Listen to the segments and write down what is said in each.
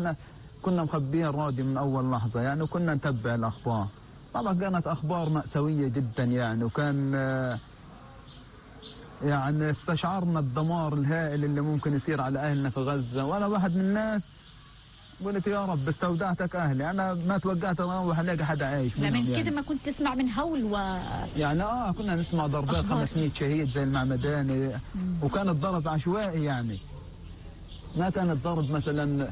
احنا كنا مخبيين الراديو من اول لحظه يعني، وكنا نتبع الاخبار. طبعا كانت اخبار مأساويه جدا يعني، وكان يعني استشعرنا الدمار الهائل اللي ممكن يصير على اهلنا في غزه. وانا واحد من الناس قلت يا رب استودعتك اهلي، انا ما توقعت اروح الاقي حدا عايش منهم. من يعني كده ما كنت تسمع من هول يعني كنا نسمع ضربات 500 شهيد زي المعمداني، وكان الضرب عشوائي يعني، ما كان الضرب مثلا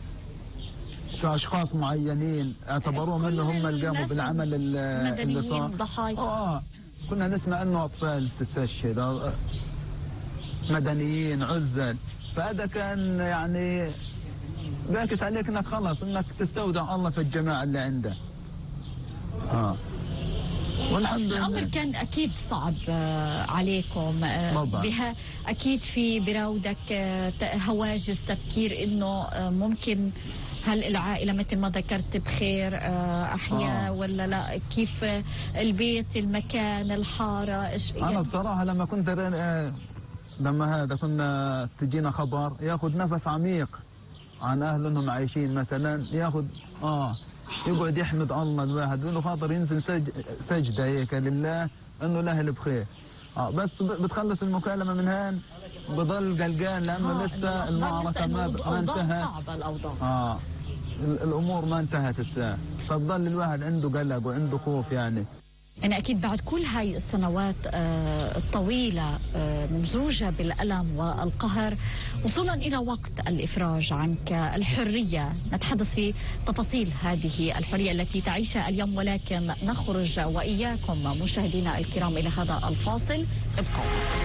في اشخاص معينين اعتبروهم انهم هم اللي قاموا بالعمل اللي صار. ضحايا كنا نسمع انه اطفال تستشهد، مدنيين، عزل. فهذا كان يعني بيعكس عليك انك خلص انك تستودع الله في الجماعه اللي عنده. والحمد لله الامر كان اكيد صعب عليكم بها. اكيد في براودك هواجس تفكير انه ممكن هل العائله مثل ما ذكرت بخير احياء ولا لا؟ كيف البيت، المكان، الحاره، ايش يعني؟ انا بصراحه لما كنت لما كنا تجينا خبر ياخذ نفس عميق عن اهله انهم عايشين مثلا، ياخذ يقعد يحمد الله الواحد، يقول له خاطر ينزل سجده هيك لله انه الاهل بخير. بس بتخلص المكالمه من هان بضل قلقان لانه لسه المعركه ما انتهت. صعبه الاوضاع. الامور ما انتهت الساعه، فبضل الواحد عنده قلق وعنده خوف يعني. يعني أكيد بعد كل هاي السنوات الطويلة ممزوجة بالألم والقهر، وصولا إلى وقت الإفراج عنك، الحرية. نتحدث في تفاصيل هذه الحرية التي تعيشها اليوم، ولكن نخرج وإياكم مشاهدينا الكرام إلى هذا الفاصل. ابقوا.